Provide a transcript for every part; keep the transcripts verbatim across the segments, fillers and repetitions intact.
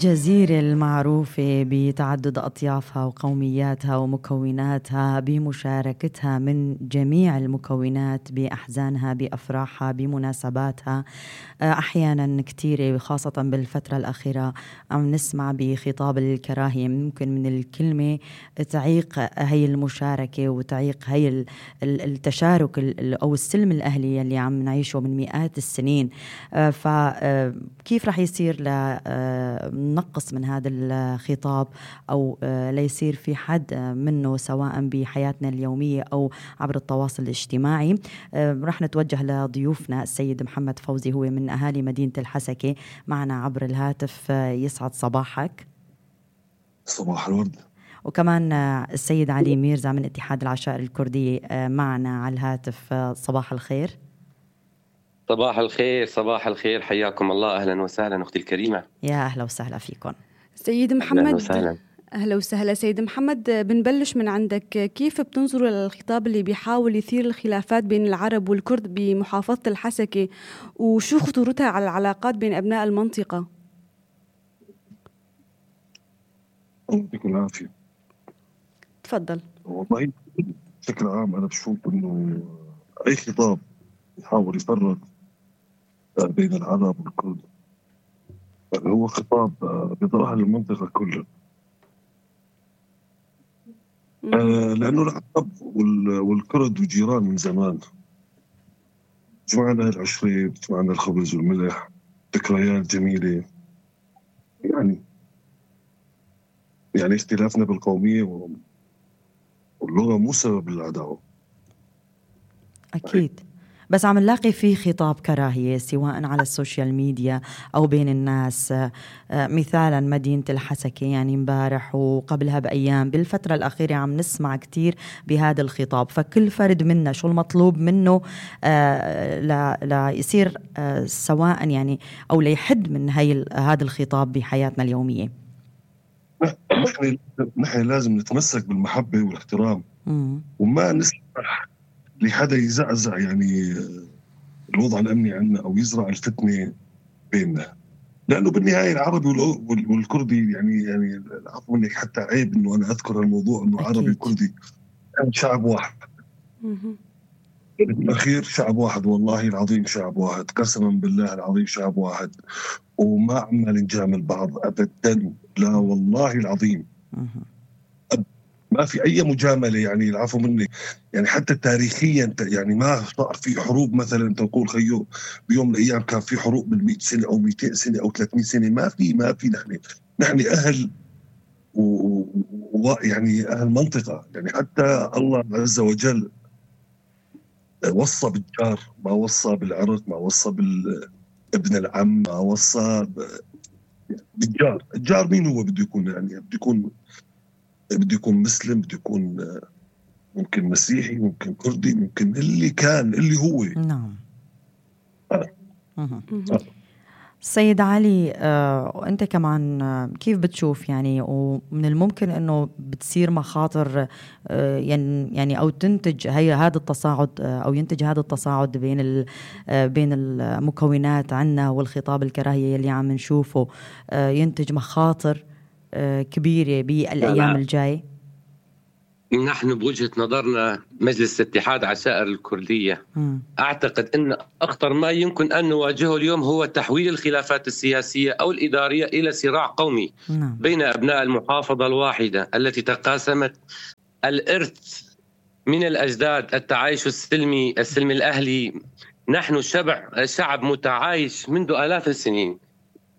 جزيرة المعروفة بتعدد أطيافها وقومياتها ومكوناتها بمشاركتها من جميع المكونات بأحزانها بأفراحها بمناسباتها. أحيانا كتيرة خاصة بالفترة الأخيرة عم نسمع بخطاب الكراهية، ممكن من الكلمة تعيق هاي المشاركة وتعيق هاي التشارك أو السلم الأهلي اللي عم نعيشه من مئات السنين. فكيف رح يصير ل نقص من هذا الخطاب أو ليصير في حد منه سواء بحياتنا اليومية أو عبر التواصل الاجتماعي؟ رح نتوجه لضيوفنا السيد محمد فوزي، هو من أهالي مدينة الحسكة، معنا عبر الهاتف. يسعد صباحك. صباح الورد. وكمان السيد علي ميرزا من اتحاد العشائر الكردية معنا على الهاتف. صباح الخير. صباح الخير. صباح الخير، حياكم الله. أهلا وسهلا أختي الكريمة. يا أهلا وسهلا فيكم سيد محمد. أهلا وسهلا. أهلا وسهلا سيد محمد، بنبلش من عندك. كيف بتنظروا للخطاب اللي بيحاول يثير الخلافات بين العرب والكرد بمحافظة الحسكة، وشو خطورتها على العلاقات بين أبناء المنطقة؟ يعطيكم العافية. تفضل. والله بشكل عام أنا بشوف إنه أي خطاب يحاول يفرق بين العرب والكرد هو خطاب بيضرها للمنطقة كلها، لأنه العرب والكرد وجيران من زمان، جمعنا العشرة، جمعنا الخبز والملح، ذكريات جميلة. يعني يعني اختلافنا بالقومية واللغة مو سبب العداوة. أكيد، بس عم نلاقي في خطاب كراهية سواء على السوشيال ميديا أو بين الناس. مثالا مدينة الحسكة، يعني مبارح وقبلها بأيام بالفترة الأخيرة عم نسمع كتير بهذا الخطاب. فكل فرد منا شو المطلوب منه لا لا يصير سواء يعني أو ليحد من هاي هذا الخطاب بحياتنا اليومية؟ نحن نحن لازم نتمسك بالمحبة والاحترام، مم. وما نسمح لحدا يزعزع يعني الوضع الأمني عندنا أو يزرع الفتنة بيننا، لأنه بالنهاية العربي والكردي يعني يعني العفو منك حتى عيب إنه أنا أذكر الموضوع إنه أكيد. عربي وكردي يعني شعب واحد. بالأخير شعب واحد، والله العظيم شعب واحد، قسما بالله العظيم شعب واحد، وما عمال نجامل بعض أبدا، لا والله العظيم ما في أي مجاملة. يعني العفو مني يعني حتى تاريخيا يعني ما صار في حروب مثلا تقول خيو بيوم من الأيام كان في حروب بالمئة سنة أو مئتين سنة أو ثلاثمئة سنة، ما في ما في نحن نحن أهل ويعني أهل منطقة. يعني حتى الله عز وجل وصى بالجار، ما وصى بالعرق، ما وصى بالابن العم، ما وصى بالجار. الجار مين هو بده يكون؟ يعني بده يكون بده يكون مسلم، بده يكون ممكن مسيحي، ممكن كردي، ممكن اللي كان اللي هو. نعم. أه. أه. سيد علي، آه، أنت كمان آه، كيف بتشوف يعني ومن الممكن أنه بتصير مخاطر آه، يعني أو تنتج هي هذا التصاعد آه، أو ينتج هذا التصاعد بين آه، بين المكونات عنا والخطاب الكراهية اللي عم نشوفه آه، ينتج مخاطر آه، كبيرة بالأيام الجاية؟ نحن بوجهة نظرنا مجلس اتحاد عشائر الكردية م. أعتقد أن أخطر ما يمكن أن نواجهه اليوم هو تحويل الخلافات السياسية أو الإدارية إلى صراع قومي م. بين أبناء المحافظة الواحدة التي تقاسمت الإرث من الأجداد، التعايش السلمي السلمي الأهلي. نحن شبع شعب متعايش منذ آلاف السنين.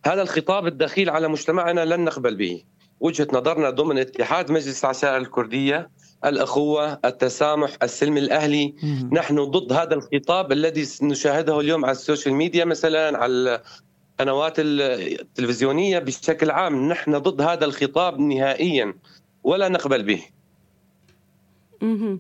هذا الخطاب الدخيل على مجتمعنا لن نقبل به. وجهة نظرنا ضمن اتحاد مجلس العشائر الكردية الأخوة، التسامح، السلم الأهلي. مم. نحن ضد هذا الخطاب الذي نشاهده اليوم على السوشيال ميديا، مثلا على القنوات التلفزيونية بشكل عام. نحن ضد هذا الخطاب نهائيا ولا نقبل به. مم.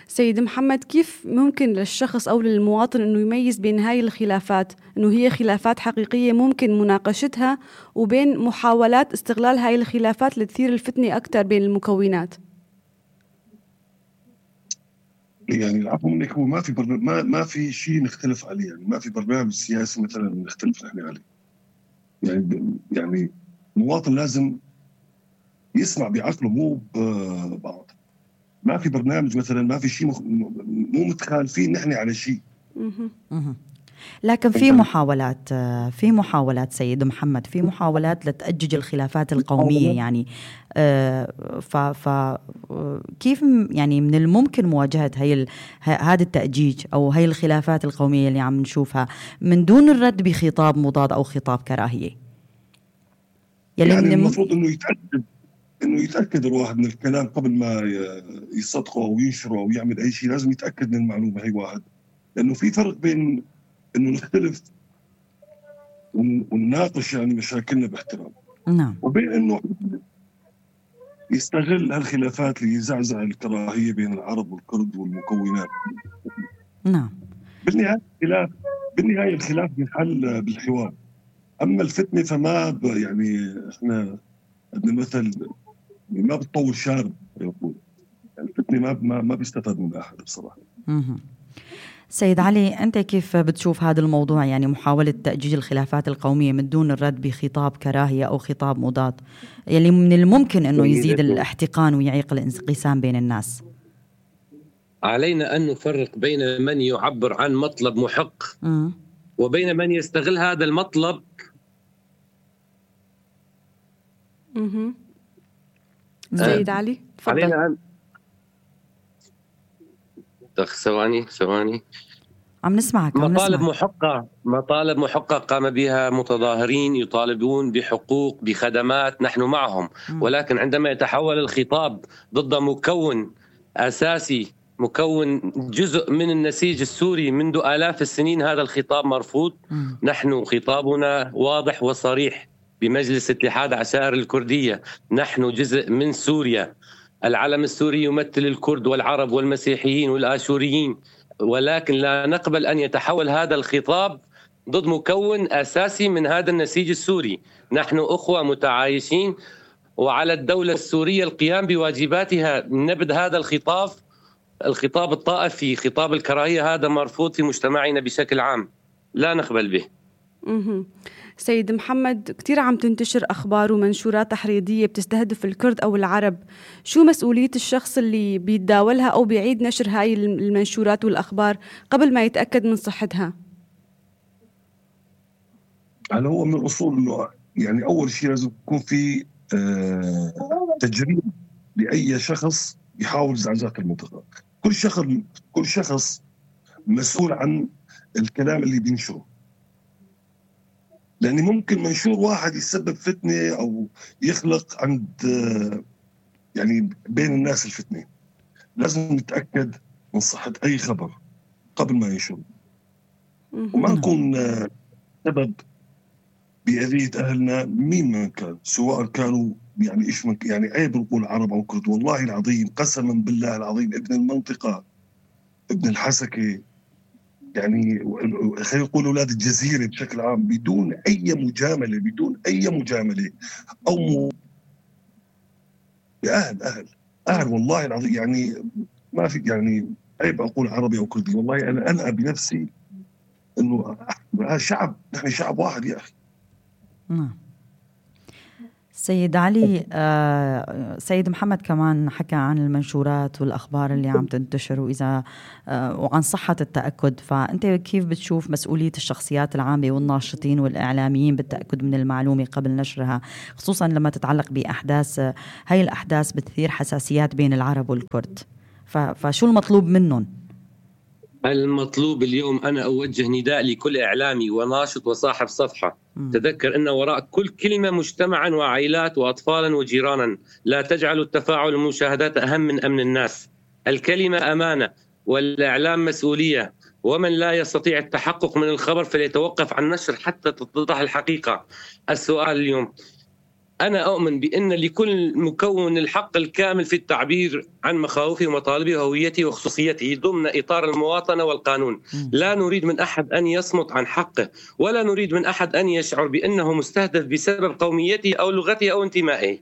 سيد محمد، كيف ممكن للشخص أو للمواطن أنه يميز بين هاي الخلافات، أنه هي خلافات حقيقية ممكن مناقشتها، وبين محاولات استغلال هاي الخلافات لتثير الفتنة أكثر بين المكونات؟ يعني العفو منك هو ما في برنامج، ما ما في شيء نختلف عليه. يعني ما في برنامج سياسي مثلا نختلف نحن عليه. يعني يعني المواطن لازم يسمع بعقله مو ببعض. ما في برنامج مثلا، ما في شيء مخ... مو متخالفين نحن على شيء. لكن في محاولات في محاولات سيد محمد في محاولات لتأجج الخلافات القومية يعني. ف ف كيف يعني من الممكن مواجهة هي هذا التأجيج أو هي الخلافات القومية اللي عم نشوفها من دون الرد بخطاب مضاد أو خطاب كراهية؟ يعني, يعني المفروض إنه يتأكد إنه يتأكد الواحد من الكلام قبل ما يصدقه أو ينشره أو يعمل أي شيء. لازم يتأكد من المعلومة هي واحد، لأنه في فرق بين إنه نختلف ونناقش يعني مشاكلنا باحترام، نعم، وبين إنه يستغل هالخلافات ليزعزع الكراهية بين العرب والكرد والمكونات. نعم. بالنهاية الخلاف بالنهاية الخلاف بينحل بالحوار. أما الفتنة فما ب... يعني إحنا عندنا مثل ما بتطول شارب يقول، يعني الفتنة ما ما ما بيستفاد منها أحد بصراحة. مه. سيد علي، أنت كيف بتشوف هذا الموضوع، يعني محاولة تأجيج الخلافات القومية من دون الرد بخطاب كراهية أو خطاب مضاد يلي من الممكن أنه يزيد الاحتقان ويعيق الانقسام بين الناس؟ علينا أن نفرق بين من يعبر عن مطلب محق م. وبين من يستغل هذا المطلب. اها سيد علي تفضل. علينا أن ثواني ثواني عم نسمعك. عم مطالب نسمعك. محقة مطالب محقة قام بها متظاهرين يطالبون بحقوق بخدمات، نحن معهم. م. ولكن عندما يتحول الخطاب ضد مكون أساسي، مكون جزء من النسيج السوري منذ آلاف السنين، هذا الخطاب مرفوض. م. نحن خطابنا واضح وصريح بمجلس اتحاد عشائر الكردية، نحن جزء من سوريا. العلم السوري يمثل الكرد والعرب والمسيحيين والآشوريين، ولكن لا نقبل أن يتحول هذا الخطاب ضد مكون أساسي من هذا النسيج السوري. نحن أخوة متعايشين، وعلى الدولة السورية القيام بواجباتها. نبذ هذا الخطاب الخطاب الطائفي، خطاب الكراهية، هذا مرفوض في مجتمعنا بشكل عام، لا نقبل به. سيد محمد، كتير عم تنتشر أخبار ومنشورات تحريضية بتستهدف الكرد أو العرب، شو مسؤولية الشخص اللي بيتداولها أو بيعيد نشر هاي المنشورات والأخبار قبل ما يتأكد من صحتها؟ هل هو من الأصول إنه يعني أول شيء لازم يكون في آه تجريب لأي شخص يحاول زعزعة المنطقة. كل شخص كل شخص مسؤول عن الكلام اللي بينشره، لأن ممكن منشور واحد يسبب فتنة أو يخلق عند يعني بين الناس الفتنة. لازم نتأكد من صحة أي خبر قبل ما ينشر، وما نكون سبب بأذية أهلنا مين ما كان، سواء كانوا يعني إيش من يعني عيب نقول عرب أو كرد. والله العظيم قسما بالله العظيم ابن المنطقة ابن الحسكة يعني خلينا نقول أولاد الجزيرة بشكل عام بدون أي مجاملة بدون أي مجاملة أو م... أهل أهل أهل والله العظيم يعني ما في يعني عيب أقول عربي أو كردي. والله أنا أنا بنفسي إنه شعب، نحن شعب واحد يا أخي. نعم. سيد علي، آه سيد محمد كمان حكى عن المنشورات والأخبار اللي عم تنتشر وإذا آه وعن صحة التأكد، فأنت كيف بتشوف مسؤولية الشخصيات العامة والناشطين والإعلاميين بالتأكد من المعلومة قبل نشرها، خصوصا لما تتعلق بأحداث هاي الأحداث بتثير حساسيات بين العرب والكرد، فشو المطلوب منهم؟ المطلوب اليوم أنا أوجه نداء لكل إعلامي وناشط وصاحب صفحة. م. تذكر أن وراء كل كلمة مجتمعا وعائلات وأطفالا وجيرانا. لا تجعلوا التفاعل والمشاهدات أهم من أمن الناس. الكلمة أمانة والإعلام مسؤولية، ومن لا يستطيع التحقق من الخبر فليتوقف عن النشر حتى تتضح الحقيقة. السؤال اليوم، أنا أؤمن بأن لكل مكون الحق الكامل في التعبير عن مخاوفه ومطالبه وهويته وخصوصيته ضمن إطار المواطنة والقانون. لا نريد من أحد أن يصمت عن حقه، ولا نريد من أحد أن يشعر بأنه مستهدف بسبب قوميته أو لغته أو انتمائه.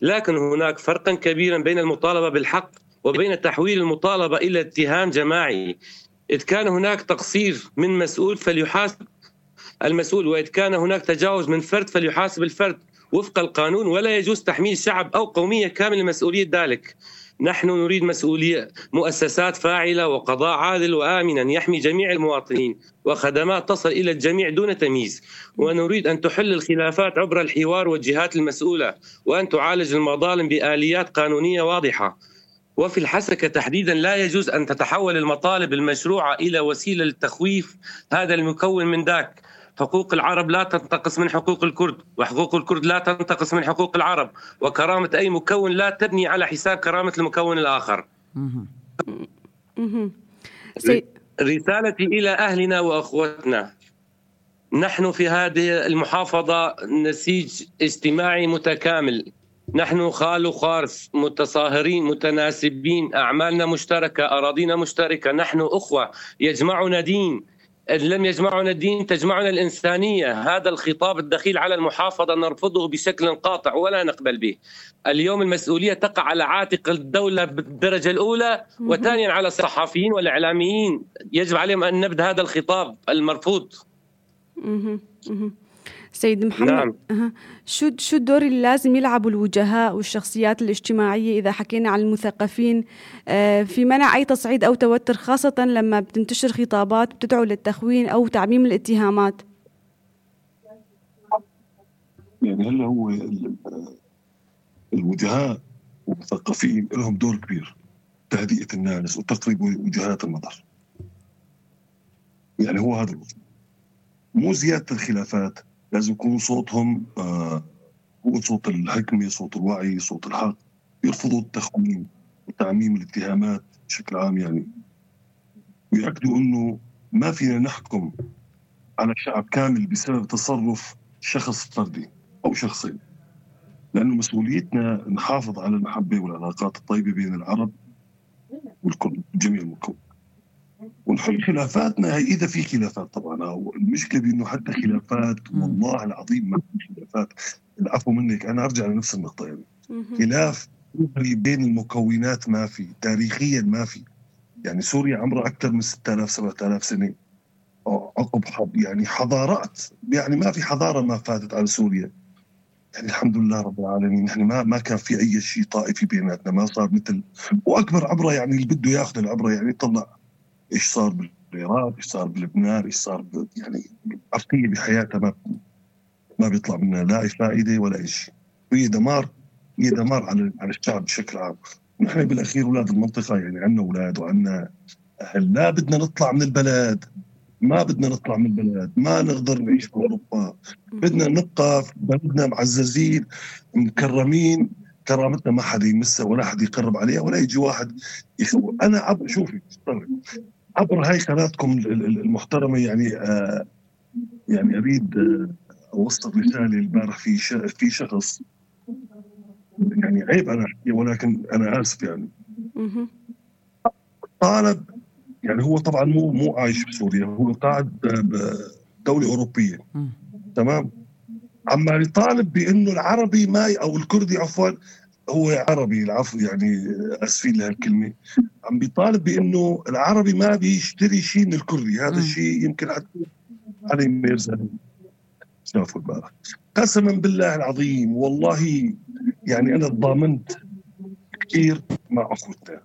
لكن هناك فرقا كبيرا بين المطالبة بالحق وبين تحويل المطالبة إلى اتهام جماعي. إذ كان هناك تقصير من مسؤول فليحاسب المسؤول، وإذ كان هناك تجاوز من فرد فليحاسب الفرد. وفق القانون، ولا يجوز تحميل شعب أو قومية كاملة مسؤولية ذلك. نحن نريد مسؤولية مؤسسات فاعلة وقضاء عادل وآمنا يحمي جميع المواطنين وخدمات تصل إلى الجميع دون تمييز. ونريد أن تحل الخلافات عبر الحوار والجهات المسؤولة، وأن تعالج المظالم بآليات قانونية واضحة. وفي الحسكة تحديدا لا يجوز أن تتحول المطالب المشروعة إلى وسيلة للتخويف هذا المكون من ذاك. حقوق العرب لا تنتقص من حقوق الكرد، وحقوق الكرد لا تنتقص من حقوق العرب، وكرامة أي مكون لا تبني على حساب كرامة المكون الآخر. رسالتي إلى أهلنا وأخوتنا، نحن في هذه المحافظة نسيج اجتماعي متكامل، نحن خال وخارف، متصاهرين متناسبين، أعمالنا مشتركة، أراضينا مشتركة، نحن أخوة، يجمعنا دين، إن لم يجمعنا الدين تجمعنا الإنسانية. هذا الخطاب الدخيل على المحافظة نرفضه بشكل قاطع ولا نقبل به. اليوم المسؤولية تقع على عاتق الدولة بالدرجة الأولى، وثانيا على الصحفيين والإعلاميين، يجب عليهم أن نبذ هذا الخطاب المرفوض. سيد محمد، نعم. أه. شو شو الدور اللي لازم يلعبوا الوجهاء والشخصيات الاجتماعية إذا حكينا عن المثقفين آه في منع أي تصعيد أو توتر، خاصة لما بتنتشر خطابات بتدعو للتخوين أو تعميم الاتهامات؟ يعني هلا هو الوجهاء والمثقفين لهم دور كبير تهدئة الناس وتقريب وجهات النظر. يعني هو هذا الوجه، مو زيادة الخلافات، لازم يكون صوتهم آه هو صوت الحكمة، صوت الوعي، صوت الحق، يرفضوا التخوين وتعميم الاتهامات بشكل عام يعني، ويأكدوا أنه ما فينا نحكم على شعب كامل بسبب تصرف شخص فردي أو شخصين، لأنه مسؤوليتنا نحافظ على المحبة والعلاقات الطيبة بين العرب والكل جميع المكون، ونحل خلافاتنا إذا في خلافات. طبعا المشكلة بأنه حتى خلافات والله العظيم ما في خلافات، العفو منك أنا أرجع لنفس النقطة، يعني خلاف بين المكونات ما في، تاريخيا ما في. يعني سوريا عمرها أكثر من ستة آلاف سبعة آلاف سنة عقب حب، يعني حضارات، يعني ما في حضارة ما فاتت على سوريا، يعني الحمد لله رب العالمين. يعني ما ما كان في أي شيء طائفي بيناتنا، ما صار مثل وأكبر عبرة، يعني اللي بده ياخذ العبرة يعني طلع إيش صار بالعراق، إيش صار بلبنان، إيش صار ب... يعني عرقية بحياتها ما ما بيطلع منها لا فائدة ولا شيء، هي دمار، هي دمار على على الشعب بشكل عام. نحن بالأخير أولاد المنطقة، يعني عنا أولاد وعنا أهل، لا بدنا نطلع من البلد، ما بدنا نطلع من البلد، ما نقدر نعيش في أوروبا، بدنا نبقى في بلدنا معززين مكرمين، كرامتنا ما حدا يمسها ولا حدا يقرب عليها ولا يجي واحد يخوف. أنا عبر شوفي عبر هاي قناتكم المحترمة، يعني آه يعني أريد آه أوصل رسالة. البارح في في شخص، يعني عيب أنا أحكي ولكن أنا آسف، يعني طالب، يعني هو طبعا مو مو عايش بسوريا، هو قاعد بدولة أوروبية، تمام، عمال يطالب بأنه العربي ما أو الكردي عفوا، هو عربي العفو يعني أسفين لهالكلمة، عم بيطالب بأنه العربي ما بيشتري شيء من الكردي. هذا الشيء يمكن حتى علي ميرزا شافوا البارح. قسما بالله العظيم والله يعني أنا ضامنت كثير مع أخوتنا،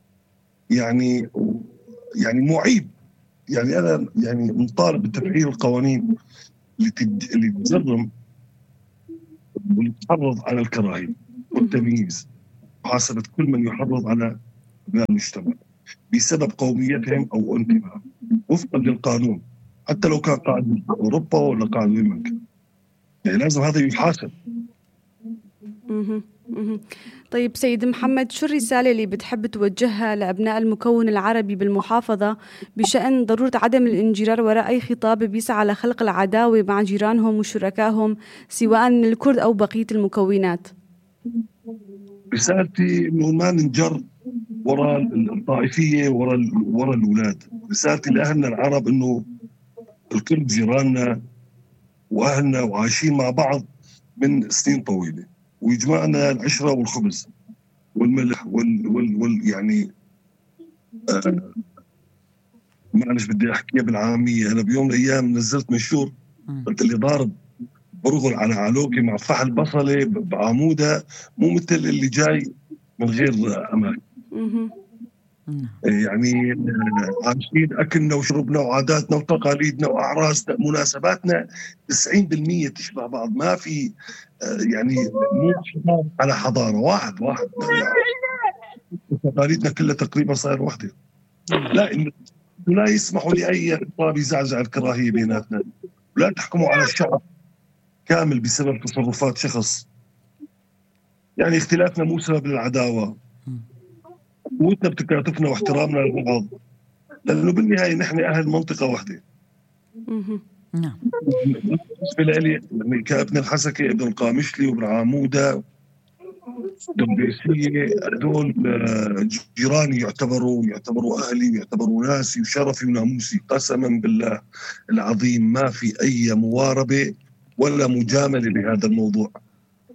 يعني يعني معيب، يعني أنا يعني مطالب بتفعيل القوانين اللي تج... اللي تجرم واللي تحرض على الكراهية والتمييز، محاسبة كل من يحرض على أبناء المجتمع بسبب قوميتهم أو انتمائهم وفقا للقانون، حتى لو كان قاعد من أوروبا ولا قاعد من مكان، يعني لازم هذا يحاسب. طيب سيد محمد، شو الرسالة اللي بتحب توجهها لأبناء المكون العربي بالمحافظة بشأن ضرورة عدم الانجرار وراء أي خطاب بيسعى لخلق العداوة مع جيرانهم وشركائهم سواء من الكرد أو بقية المكونات؟ رسالتي إنه ما ننجر وراء الطائفية وراء وراء الأولاد. رسالتي لأهلنا العرب إنه الكرد جيراننا وأهلنا وعايشين مع بعض من سنين طويلة، ويجمعنا العشرة والخبز والملح وال, وال, وال يعني آه معلش بدي أحكيها بالعامية. أنا بيوم من الأيام نزلت منشور قلت اللي ضارب برغل على علوكي مع فحل بصلة بعمودة، مو مثل اللي جاي من غير أمان. يعني عايشين أكلنا وشربنا وعاداتنا وتقاليدنا وأعراسنا مناسباتنا تسعين بالمية تشبه بعض، ما في يعني مو على حضارة واحد واحد تقاليدنا كلها تقريبا صاير وحدة. لا إن لا يسمحوا لأي خطاب يزعزع الكراهية بيناتنا، ولا تحكموا على الشعب كامل بسبب تصرفات شخص. يعني اختلافنا مو سبب للعداوة، قوتنا بتكاتفنا واحترامنا لبعض، لأنه بالنهاية نحن أهل منطقة واحدة. نعم. بالنسبة لي كابن الحسكة ابن القامشلي وابن عامودة دبيسية هدول جيراني، يعتبروا يعتبروا أهلي ويعتبروا ناسي وشرفي وناموسي. قسما بالله العظيم ما في أي مواربة ولا مجاملة بهذا الموضوع.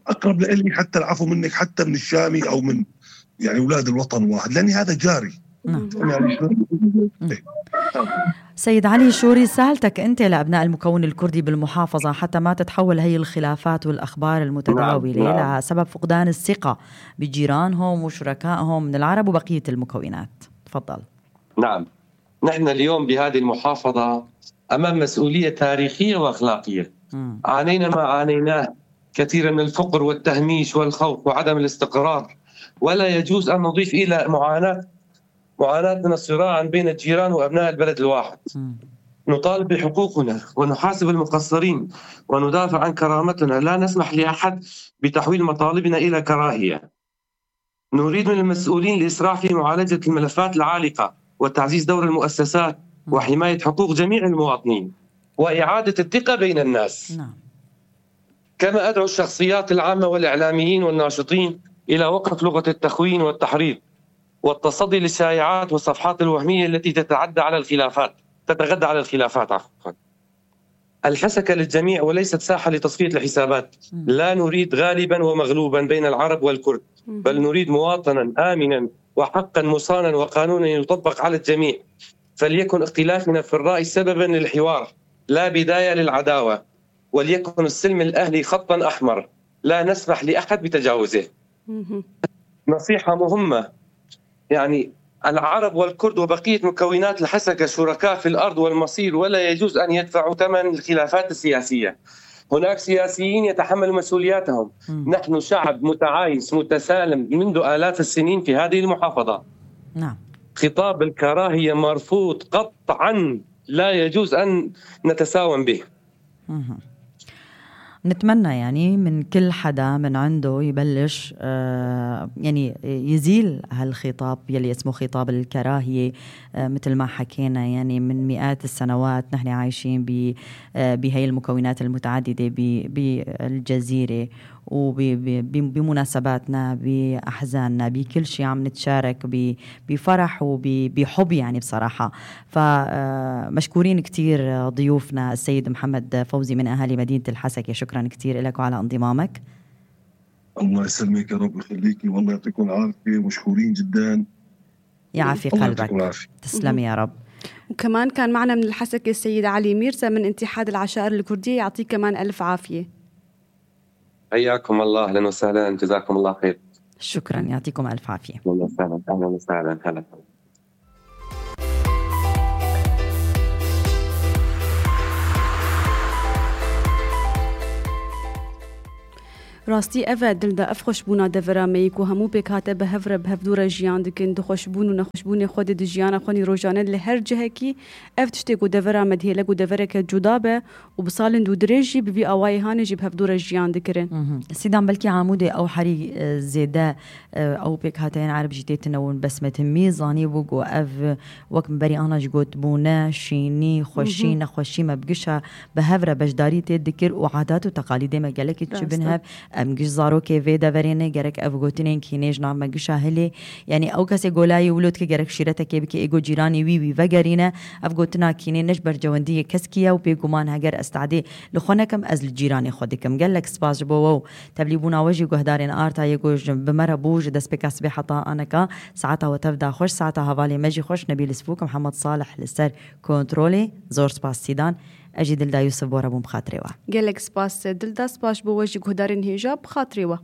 أقرب لإلي حتى العفو منك حتى من الشامي أو من يعني أولاد الوطن واحد، لأن هذا جاري. نعم. يعني سيد علي، شو رسالتك أنت لأبناء المكون الكردي بالمحافظة حتى ما تتحول هي الخلافات والأخبار المتداولة نعم. نعم. لسبب فقدان الثقة بجيرانهم وشركائهم من العرب وبقية المكونات؟ تفضل. نعم، نحن اليوم بهذه المحافظة أمام مسؤولية تاريخية وأخلاقية. م. عانينا ما عانيناه كثيرا من الفقر والتهميش والخوف وعدم الاستقرار، ولا يجوز أن نضيف إلى معاناة معاناة من الصراع بين الجيران وأبناء البلد الواحد. م. نطالب بحقوقنا ونحاسب المقصرين وندافع عن كرامتنا، لا نسمح لأحد بتحويل مطالبنا إلى كراهية. نريد من المسؤولين الإسراع في معالجة الملفات العالقة وتعزيز دور المؤسسات وحماية حقوق جميع المواطنين وإعادة الثقة بين الناس. نعم. كما أدعو الشخصيات العامة والإعلاميين والناشطين إلى وقف لغة التخوين والتحريض والتصدي للشائعات والصفحات الوهمية التي تتعدى على الخلافات تتغدى على الخلافات عفوا. الحسكة للجميع وليست ساحة لتصفية الحسابات. لا نريد غالبا ومغلوبا بين العرب والكرد، بل نريد مواطنا آمنا وحقا مصانا وقانونا يطبق على الجميع. فليكن اختلافنا في الرأي سببا للحوار لا بداية للعداوة، وليكن السلم الأهلي خطا أحمر لا نسمح لأحد بتجاوزه. نصيحة مهمة، يعني العرب والكرد وبقية مكونات الحسكة شركاء في الأرض والمصير، ولا يجوز أن يدفعوا ثمن الخلافات السياسية. هناك سياسيين يتحملوا مسؤولياتهم. م. نحن شعب متعايش متسالم منذ آلاف السنين في هذه المحافظة. نعم. خطاب الكراهية مرفوض قطعا، لا يجوز أن نتساوم به. م. نتمنى يعني من كل حدا من عنده يبلش آه يعني يزيل هالخطاب يلي اسمه خطاب الكراهية. آه مثل ما حكينا يعني من مئات السنوات نحن عايشين بهي المكونات المتعددة بالجزيرة وبمناسباتنا بأحزاننا بكل شيء عم نتشارك بفرح وبحب يعني بصراحة. فمشكورين كتير ضيوفنا السيد محمد فوزي من أهالي مدينة الحسكة، شكرا كتير لك وعلى انضمامك. الله يسلمك يا رب يخليكي، والله يعطيكم العافية، مشكورين جدا. يعافي قلبك، تسلم يا رب. وكمان كان معنا من الحسكة السيد علي ميرزا من اتحاد العشائر الكردية، يعطيك كمان ألف عافية. حياكم الله، أهلا وسهلا، جزاكم الله خير. شكرا، يعطيكم ألف عافية. أهلا وسهلا. أهلا وسهلا. هلا. راستی اوه دل دا اف خوشبونا دورا میک و همو بکاته به هفره به هفدور جیان دکن دو خوشبون و نخوشبون خود د جیان خونی روزانه لهر جهه کی اف تشتی کو دورا مدهله کو دورا که جدا به و بسالن دو درجی به اوای هانه جی به هفدور جیان دکرن. سیدان بلکی عموده او حری زیده او بکاته عرب جیته تنون بسمه میزانی بگو اف وقت بری آنها جگوت بونه شینی خوشی نخوشی مبگشه به هفره بجداری تدکر و عادات و تقالید مگلکی تشبنها ام گش زاروکه و دورینه گرک افگوتینن کینیج نام گش هلی یعنی او کسی گلای ولود که گرک شیرته که بکی ایگو جیرانی وی وی وگرینه افگوتنا کینی نش برجواندی کسکیه و پیگمان هگر استعدی لخونکم از الجیرانی خودکم گلک سپاس بو تبلیبونا وجی گهدارین آرتا یگو بمره بوج دست بکسب حتا انکا ساعتها وتفدا خوش ساعتها حوالی مجی خوش نبیل سفوک محمد صالح لسر کنترلی زور سپاس سیدان أجي دلدا يوسف بورا بوم خاطريوا قالك سباس دلدا سباش بوجه هدارين هيجاب خاطريوا.